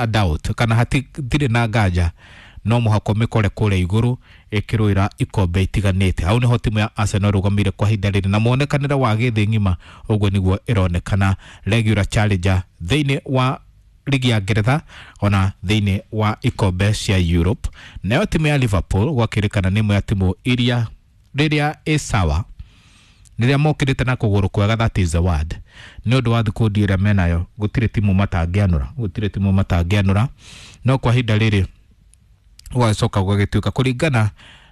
a doubt kana hatirĩ na nganja no mũhaka mĩkore kũrĩa igũrũ ĩkĩrũĩra ikombe itiganĩte. Hau nĩho timu ya Arsenal ĩrũgamĩire kwa ihinda rĩrĩ na muonekanĩre wa gĩthĩ ng'ima ũguo nĩguo ĩronekana regular challenger thĩinĩ wa ligi ya Ngeretha ona thĩinĩ wa ikombe cia Europe. Nayo timu ya Liverpool gwakĩrĩkana nĩ ĩmwe ya timu iria rĩrĩa ĩ sawa, rĩrĩa mokĩrĩte na kũgũrũ kwega, that is the word, nĩ ũndũ wa thikundi ĩrĩa menayo gũtirĩ timu matangĩanũra, gũtirĩ timu matangĩanũra. No kwa ihinda rĩrĩ gũgacoka gũgagĩtuĩka kũringana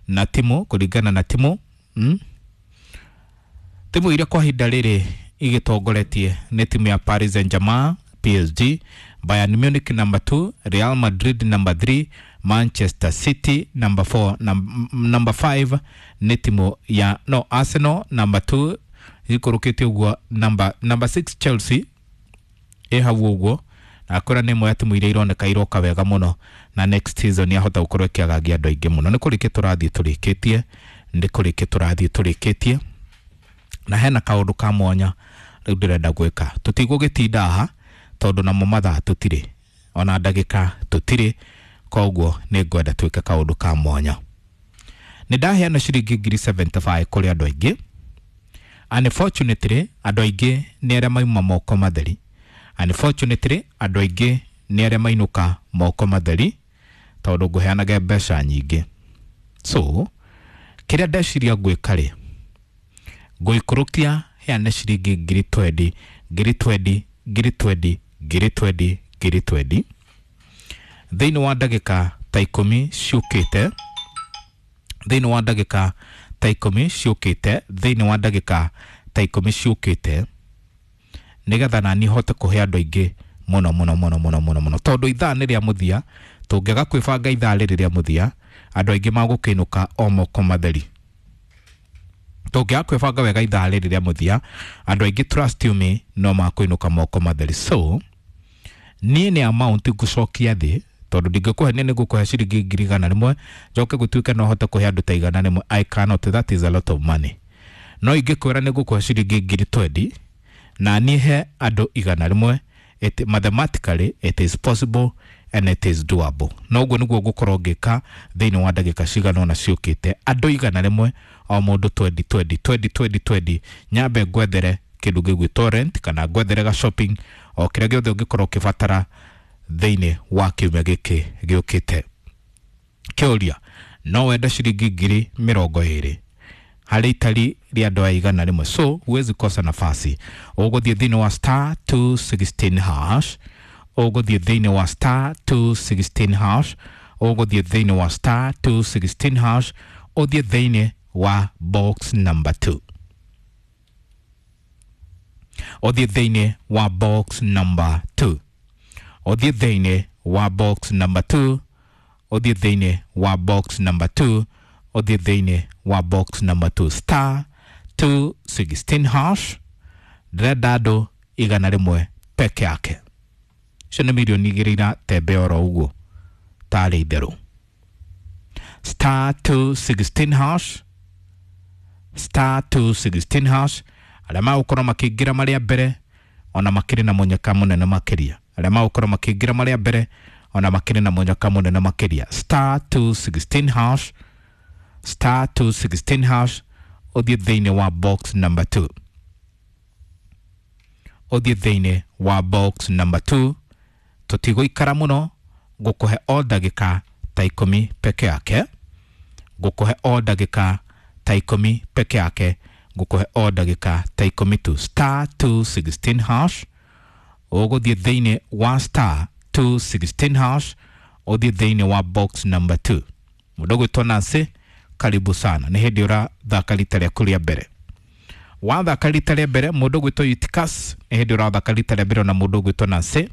na timu, kũringana na timu, Timu iria kwa ihinda rĩrĩ igĩtongoretie nĩ timu ya Paris Saint-Germain PSG, Bayern Munich number 2, Real Madrid number 3, Manchester City number 4, number 5 nĩ timu ya no Arsenal number 2 ikũrũkĩte ũguo, number 6 Chelsea ĩ hau ũguo, na akora nĩ ĩmwe ya timu iria ironeka iroka wega mũno na next season yahota gũkorwo ĩkĩagagia andũ aingĩ mũno. Nĩ kũrĩkia tũrathiĩ tũrĩkĩtie, nĩ kũrĩkia tũrathiĩ tũrĩkĩtie, na hena kaũndũ ka mwanya rĩu ndĩrenda gwĩka. Tũtigũgĩtinda haha tondũ namo mathaa tũtirĩ ona ndagĩka tũtirĩ, koguo nĩ ngwenda twĩke kaũndũ ka mwanya. Nĩ ndaheana ciringi ngiri 75 kũrĩ andũ aingĩ. Unfortunately andũ aingĩ nĩ arĩa mauma moko matheri. Unfortunately andũ aingĩ nĩ arĩa mainũka moko matheri tondũ ngũheanaga mbeca nyingĩ. So kĩrĩa ndeciria gwĩka rĩ, ngũikũrũkia heane ciringi ngiri 20, ngiri 20, ngiri 20, ngiri 20, ngiri 20 thĩinĩ wa ndagĩka ta 10 ciũkĩte, thĩinĩ wa ndagĩka ta 10 ciũkĩte, thĩinĩ wa ndagĩka ta 10 ciũkĩte, nĩgetha nani hote kũhe andũ aingĩ mũno mũno mũno mũno mũno mũno, tondũ ithaa nĩ rĩa mũthia. Tũngĩaga kwĩbanga ithaa rĩrĩ rĩa mũthia, andũ aingĩ magũkĩinũka o moko matheri. Tũngĩaga kwĩbanga wega ithaa rĩrĩ rĩa mũthia, andũ aingĩ, trust you me, no makũinũka moko matheri. So niĩ nĩ amount ngũcokia thĩ, tondũ ndingĩkũhe nĩ ngũkũhe ciringi ngiri 100 njoke gũtuĩke no hote kũhe andũ ta 100. I cannot, that is a lot of money. No ingĩkwĩra nĩ ngũkũhe ciringi ngiri 20 na niĩ he andũ 100, it, mathematically it is possible and it is doable. No ũguo nĩguo ngũkorwo ngĩka thĩinĩ wa ndagĩka cigana ũna ciũkĩte. Andũ 100, o mũndũ 20 20 20 20 20, nyambe ngwethere kĩndũ gĩgwĩtwo rent kana ngwethere ga shopping o kĩrĩa gĩothe ũngĩkorwo ũkĩbatara thĩinĩ wa kiumia gĩkĩ gĩũkĩte. Kĩũria, no wende ciringi ngiri 20 harĩ itari rĩa andũ aya 100? So huwezi kosa nafasi. Ũgũthiĩ thĩinĩ wa star 216 hash, ũgũthiĩ thĩinĩ wa star 216 hash, ũgũthiĩ thĩinĩ wa star 216 hash, ũthiĩ thĩinĩ wa box number 2, ũthiĩ thĩinĩ wa box number 2, ũthiĩ thĩinĩ wa box number 2, ũthiĩ thĩinĩ wa box number 2, ũthiĩ thĩinĩ wa box number 2, star 216 hash. Ndĩrenda andũ 100 peke yake. Icio nĩ mirioni 2 iratembe oro ũguo tarĩ itherũ. Star 216 hash, star 216 hash. Arĩa magũkorwo makĩingĩra marĩa mbere ona makĩrĩ na mũnyaka mũnene makĩria, arĩa magũkorwo makĩingĩra marĩa mbere ona makĩrĩ na mũnyaka mũnene makĩria. Star 216 hash, star 216 hash, ũthiĩ thĩinĩ wa box number 2, ũthiĩ thĩinĩ wa box number 2. Tũtigũikara mũno, ngũkũhe o ndagĩka ta 10 peke yake, ngũkũhe o ndagĩka ta 10 peke yake, ngũkũhe o ndagĩka ta 10 tu. Star 216 hash, ũgũthiĩ thĩinĩ wa star 216 hash, ũthiĩ thĩinĩ wa box number 2. Mũndũ ũgwĩtwo Nancy, karibu sana, nĩ hĩndĩ ũrathaka rita rĩaku rĩa mbere. Wathaka rita rĩa mbere, mũndũ ũgwĩtwo Eutychus, nĩ hĩndĩ ũrathaka rita rĩa mbere. Ona mũndũ ũgwĩtwo Nancy,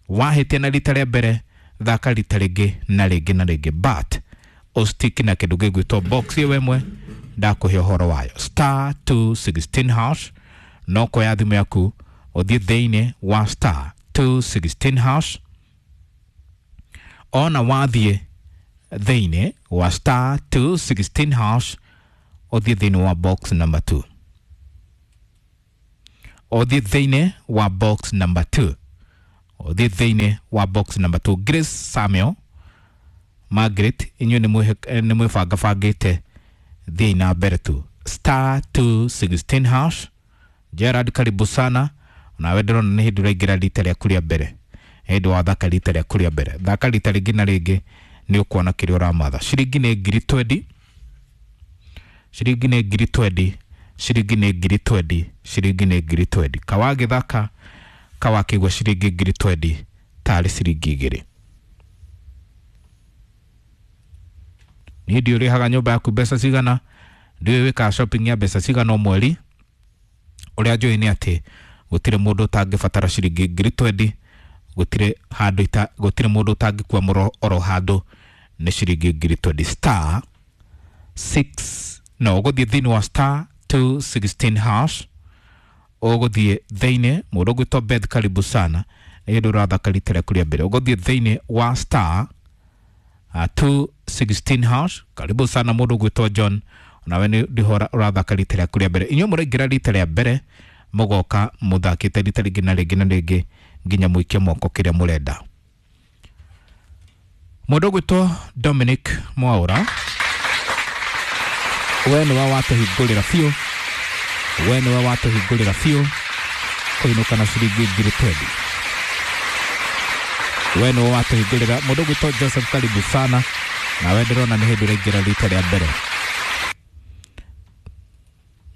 wahĩtia na rita rĩa mbere, thaka rita rĩngĩ na rĩngĩ na rĩngĩ, but ũstiki na kĩndũ gĩgwĩtwo box ĩyo ĩmwe ndakũhe ũhoro wayo, star 216 hash. No kuoya thimũ yaku ũthiĩ thĩinĩ wa star 216 hash. Ona wathiĩ thĩinĩ wa star 216 hash, ũthiĩ thĩinĩ wa box number 2, ũthiĩ thĩinĩ wa box number 2, Ũthiĩ thĩinĩ wa box number 2. Grace Samuel Margaret, inyuĩ nĩ mwĩbangabangĩte, thiĩi na mbere tu. Star 216 hash. Gerard, karibu sana. Nawe ndĩrona nĩ hĩndĩ ũraingĩra rita rĩaku rĩa mbere, hĩndĩ wathaka rita rĩaku rĩa mbere, thaka rita rĩngĩ na rĩngĩ, nĩ ũkuona kĩrĩa ũramatha. Ciringi nĩ ngiri twendi, ciringi nĩ ngiri twendi, ciringi nĩ ngiri twendi, ciringi nĩ ngiri twendi. Kawagĩthaka kawakĩigua ciringi ngiri twendi tarĩ ciringi igĩrĩ. Niĩ ndiũ ũrĩhaga nyũmba yaku mbeca cigana, ndiũĩ wĩkaga shopping ya mbeca cigana o mweri. Ũrĩa njũĩ nĩ atĩ gũtirĩ mũndũ ũtangĩbatara ciringi ngiri twendi, gũtirĩ handũ ita, gũtirĩ mũndũ ũtangĩkua mũro oro handũ nĩ ciringi ngiri twendi. Star 6, no ũgũthiĩ thĩinĩ wa star 216 hash, ũgũthiĩ thĩinĩ. Mũndũ ũgwĩtwo Beth, karibu sana, nĩ hĩndĩ ũrathaka rita rĩaku rĩa mbere. Ũgũthiĩ thĩinĩ wa star 216 hash. Karibu sana mũndũ ũgwĩtwo John, nawe nĩ ndĩho ũrathaka rita rĩaku rĩa mbere. Inyuĩ mũraingĩra rita rĩa mbere, mũgoka mũthakĩte rita rĩngĩ na rĩngĩ na rĩngĩ nginya mũikie moko kĩrĩa mũrenda. Mũndũ ũgwĩtwo Dominic Mwaũra, we nĩwe watũhingũrĩra biũ, we nĩwe watũhingũrĩra biũ kũinũka na ciringi ngiri twendi. We nĩwe watũhingũrĩra. Mũndũ ũgwĩtwo Joseph, karibu sana, nawe ndĩrona nĩ hĩndĩ ũraingĩra rita rĩa mbere.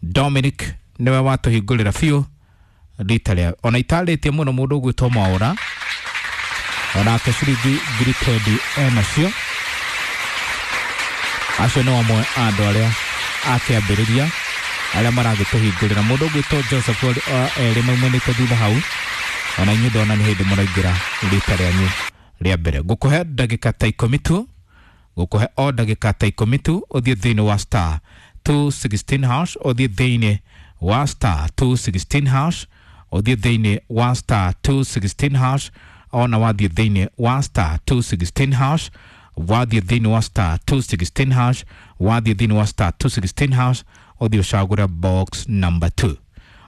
Dominic nĩwe watũhingũrĩra biũ rita rĩa ona itarĩtie mũno. Mũndũ ũgwĩtwo Mwaũra onake ciringi ngiri twendi enacio. Acio nĩ amwe a andũ arĩa akĩambĩrĩria arĩa maragĩtũhingũrĩra. Mũndũ ũgwĩtwo Joseph erĩ maumanĩte thutha hau, ona inyuĩ ndona nĩ hĩndĩ mũraingĩra rita rĩanyu rĩa mbere. Ngũkũhe ndagĩka ta ikũmi tu, ngũkũhe o ndagĩka ta ikũmi tu, ũthiĩ thĩinĩ wa star 216 hash, ũthiĩ thĩinĩ wa star 216 hash, ũthiĩ thĩinĩ wa star 216 hash. Ona wathiĩ thĩinĩ wa star 216 hash, wathiĩ thĩinĩ wa star 216 hash, wathiĩ thĩinĩ wa star 216 hash, ũthiĩ ũcagũre box number 2,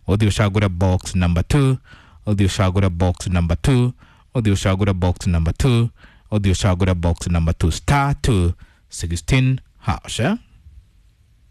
ũthiĩ ũcagũre box number 2, ũthiĩ ũcagũre box number 2, ũthiĩ ũcagũre box number 2, ũthiĩ ũcagũre box number 2, star 216 hash, eh?